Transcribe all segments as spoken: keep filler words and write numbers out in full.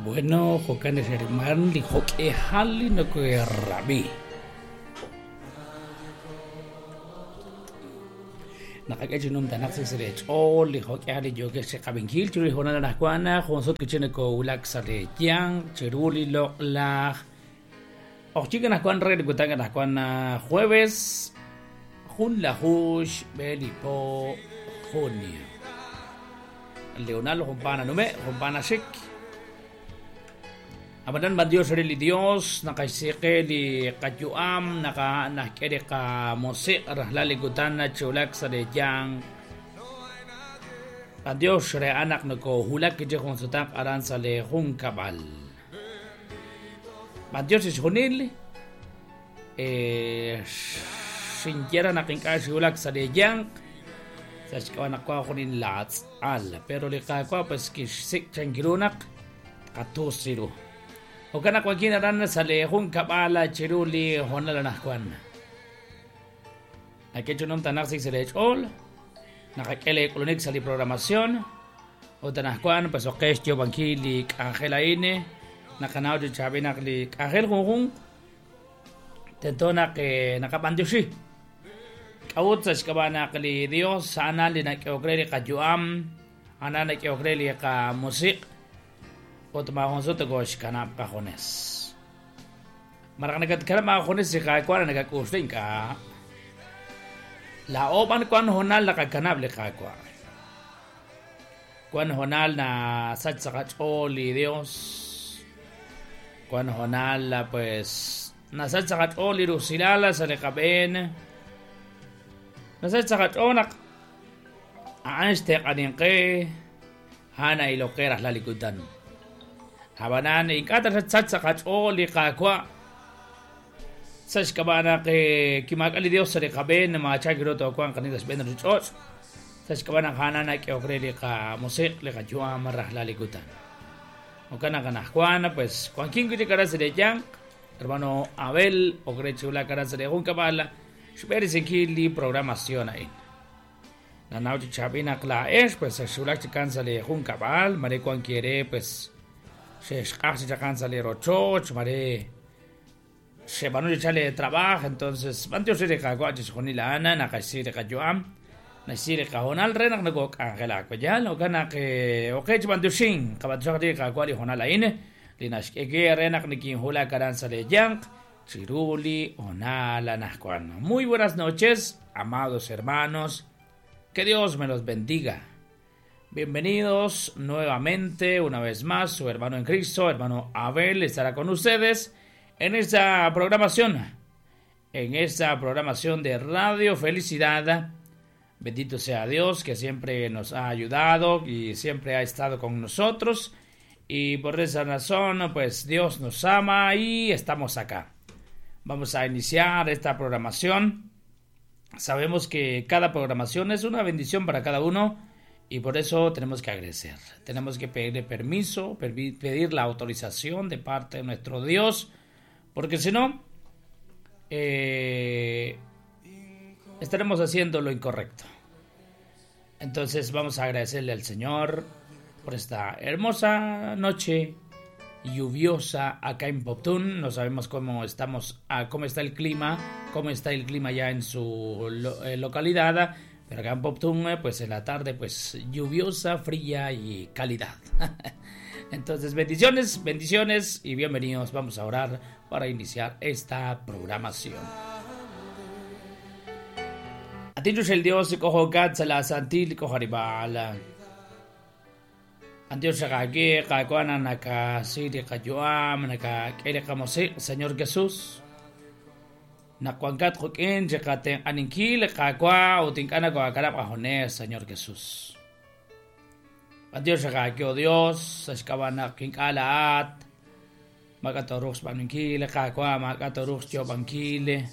Bueno, jo'kan hermano li jo'k'ehal li nokoherab'i. Naqak'e chi numtanaq sa' li ch'ool li jo'k'ehal li yookeb' chiqab'inkil chiru li hoonal anaqwan jun sut kichi nokowulak sa' li yanq chiru li loq'laj ojchik anaqwan re li kutan anaqwan jueves junlaju xb'e li po junio. Leonardo jumpana nume jumpana xik. Abadan ba Dios li Dios naqaxsiqe li qayu'am naqa naqk'e li qamusiq rajlal li kutan chulak sa' li yanq. A Dios re anaq nokohulak kichi jun sutaq aran sa' li junkab'al. Ba Dios xjunil eh xinyera naq ink'a' xulak sa' li yanq sa' xk'ab'a' naq wa junin laatz'al pero li qaawa' pues kixsik' chankiru naq qatusiru. Jo'kan naq wankin aran sa' li junkab'al chiru li hoonal anaqwan. Nak'e chi numtanaq sik sa' li ch'ool naqak'e li k'ulunik sa' li programación ut anaqwan pues oqex yoob'ankil li k'anjel a'in naqanaw chi chaab'il naq li k'anjel junjunq tento naq naqab'antioxi. K'a'ut sa' xk'ab'a' naq li Dios a'an li nak'ehok re li qayu'am a'an nak'ehok re li qamusiq' ut maajun sut tokoxkanab' qajunes. Maraq nakatkanab' maajunes li Qaawa' nakak'uxla ink'a'. Laa'o b'an wan hoonal naqakanab' li Qaawa'. Wan hoonal nasach sa' qach'ool li Dios. Wan hoonal pues nasach sa' qach'ool li rusilal sa' li qab'een. Nasach sa' qach'ool naq a'an xteq'aninqe a'an a'iloqe rajlal li kutan. Abanan ink'a' taxachach sa' qach'ool li Qaawa' sa' xk'ab'a' naq kimaak'a li Dios sa' li qab'een maachak ru toowanq qani sa' xb'een ruuchich'och' sa' xk'ab'a' naq a'an nak'ehok re li qamusiq' li qayu'am rajlal li kutan. Jo'kan naq anaqwan pues wankin wi' chik aran sa' li yanq hermano Abel ok re chulak aran sa' li junkab'al xb'eresinkil li programación a'in. Nanaw chi chaab'il naq laa'ex pues xulak chikan sa' li junkab'al mare wan kiere pues xexq'aj chi chaqan sa' li rochoch mare xeb'anu chi chal li trabajo entonces b'antiox li Qaawa' chi xjunil a'an naqaxsi li qayu'am naxsi li qahoonal re naq nokok'anjelak yal jo'kan naq oqe chi b'antioxin qab'antioxaq li Qaawa' li hoonal a'in li naxk'e re naq nikinhulak aran sa' li yanq chiru li hoonal anaqwan. Muy buenas noches, amados hermanos, que Dios me los bendiga. Bienvenidos nuevamente, una vez más, su hermano en Cristo, hermano Abel, estará con ustedes en esta programación, en esta programación de Radio Felicidad. Bendito sea Dios que siempre nos ha ayudado y siempre ha estado con nosotros. Y por esa razón, pues Dios nos ama y estamos acá. Vamos a iniciar esta programación. Sabemos que cada programación es una bendición para cada uno. Y por eso tenemos que agradecer, tenemos que pedirle permiso, pedir la autorización de parte de nuestro Dios, porque si no, eh, estaremos haciendo lo incorrecto. Entonces vamos a agradecerle al Señor por esta hermosa noche lluviosa acá en Poptún. No sabemos cómo estamos, cómo está el clima, cómo está el clima ya en su localidad. Pero acá en Poptún, pues en la tarde, pues lluviosa, fría y calidad. Entonces, bendiciones, bendiciones y bienvenidos. Vamos a orar para iniciar esta programación. Atichus el Dios, cojo la santil, cojo aribala. Andios xaqaki, qakuana, naka siri, qayuam, naka kere qamosi, Señor Jesús. Nakuankat jokin, chekaten aninkil, kakua, utinkana koakarap ajones, Señor Jesús. Adiós, xaqaki, oh Dios, axkabana kinkalaat, makatorux paninkil, kakua, makatorux yobankil,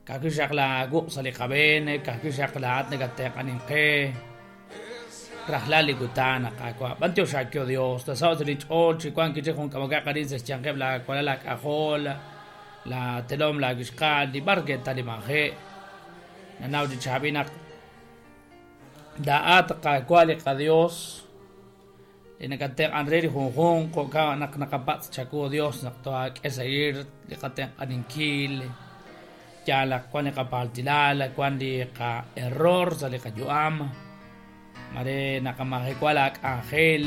kakishak la gu salikaben, kakishak la at nagatek aninke, rajlali kutana, kakua. Bantio xaqaki, oh Dios, tasaw silich ol, chikuan kichikun kamagakarin sa chanqeb la kualala kajol, la telom la gishqal li barqueta li manje nanaw di chabinak daat qakwali qa Dios Li nakatenq'an re li junjunq jo'kan naq naqapatz' chawu Dios naq tohaak'e sa'ir li qatenq'aninkil yaal wan li qapaltilal wan li qa-error sa' li qayu'am mare naqamajewa laak'anjel